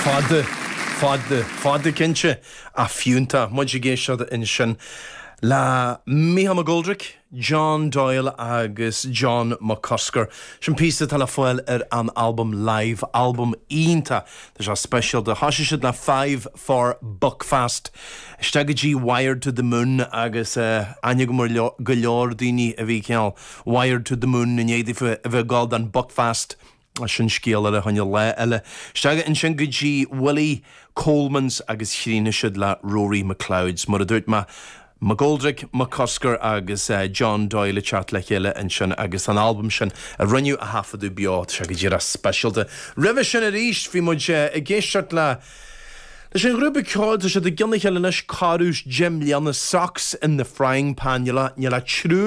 Fada, fada, fada cinnte, ach fiúntach. Muid ag éisteacht ansin le Mícheál McGoldrick, John Doyle agus John McCusker. Sin píosa atá le fáil ar an albam Live, albam iontach. Tá sé speisialta. Thosaigh siad le Five for Buckfast. Isteach go dtí Wired to the Moon agus aithne agam ar go leor daoine a bhí cineál wired to the moon i ndiaidh daofa a bheith ag gabháil don Buckfast. Sin scéal eile choinne lá eile. Isteach ansin go dtí Willie Coleman's agus chríochnaigh siad le Rory McLeod's. Mar a dúirt mé, McGoldrick, McCusker agus John Doyle ag teacht le chéile ansin agus an albam sin a rinneadh a thaifeadadh beo, tá sé go díreach speisialta. Roimhe sin arís bhí muid ag éisteacht le leis an ghrúpa ceoil, tá siad i gcionn a chéile anois, corradh 10 mbliana, Socks in the Frying Pan, níl ach triúr.